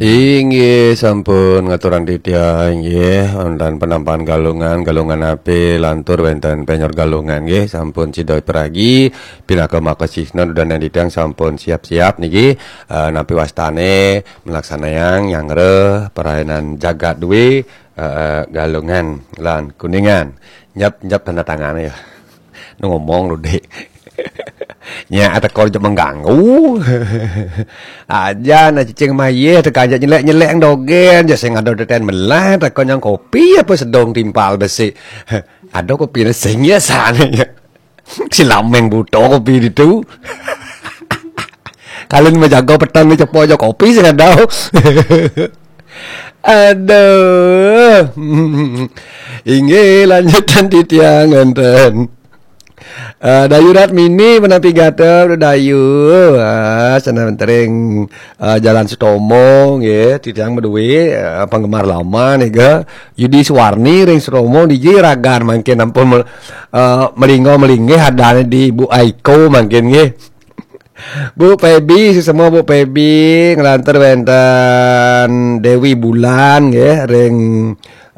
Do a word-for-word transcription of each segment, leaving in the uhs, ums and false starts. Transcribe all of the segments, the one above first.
Inggih sampun ngaturang titiang inggih wonten penampakan Galungan, Galungan ape lantur wenten Penyor Galungan nggih sampun sida piragi pinaka makasihna dudaning titiang sampun siap-siap niki eh, nampi wastane melaksanayang nyanggra perainan jagat due eh, Galungan lan Kuningan. Nyep nyep tanda tangan ya. Ngomong lu dek. Nya teka aja mengganggu. Aja na cicing mayeh teka aja nyelek-nyelek dogen aja sing ada deten melah teka nyang kopi apa sedong timpal besi. Ada kopi sing ya sana ya. Si lameng buta kopi itu. Kalian menjaga petang ni cepo aja kopi sing ada. Aduh. Inggih lanjutan titiang wonten. Eh, Dayu Ratmini menapi gatra Dayu. Ah, sana tering eh, Jalan Sutomo nggih, titiang berdua eh, penggemar lama nih ga. Yudi Suwarni ring Sutomo diji ragan mangkin ampun mel, eh, melinggo melinggih adane di Ibu Aiko mangkin nggih. Bu Pebi, sesama Bu Pebi, ngelantur wenten Dewi Bulan, nggih, ring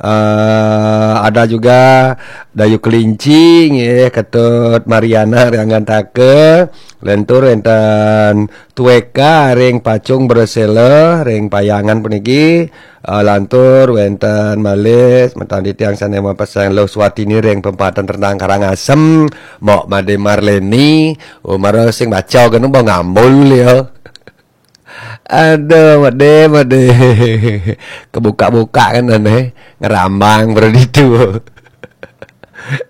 eh, ada juga Dayu Kelinci, nggih, Ketut Mariana ring Anggantaka, lentur wenten Tueka ring Pacung Bersela ring Payangan puniki, eh, lantur wenten malih semeton titiang sane mapesang Luh Swatini ring Pempatan Rendang Karangasem, Mok Made Marleni, umara sing baca kena bau ngambul ya. Aduh, made, made. Kebuka-buka kan aneh, ngerambang berarti itu.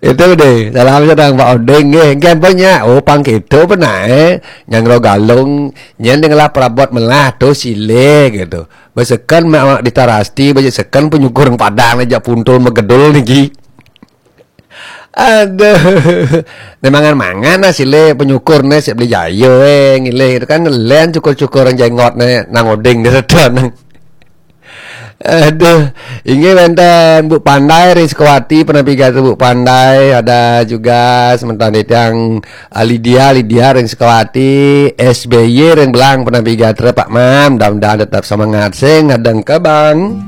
Itu deh, salam sedang Pak Odeng nggih. Engke apa nya? Oh, pang keto apa nae? Nyang ro galung, nyen ngelah perabot melah tu sile gitu. Beseken mek awak ditarasti, beseken penyukur padang aja puntul megedul niki. Aduh. Nemangan mangan lah sile penyukur ne sik beli jayo eh ngilih itu kan ngelen cukur-cukur jenggot ne nang oding di redan. Aduh, inggih wenten Bu Pandai ring Sukawati penapi gatra Bu Pandai, ada juga semeton titiang ah, Lydia Lydia ring Sukawati, S B Y ring Belang penapi gatra Pak Mam, mudah-mudahan tetap semangat sing ngadeng kebang.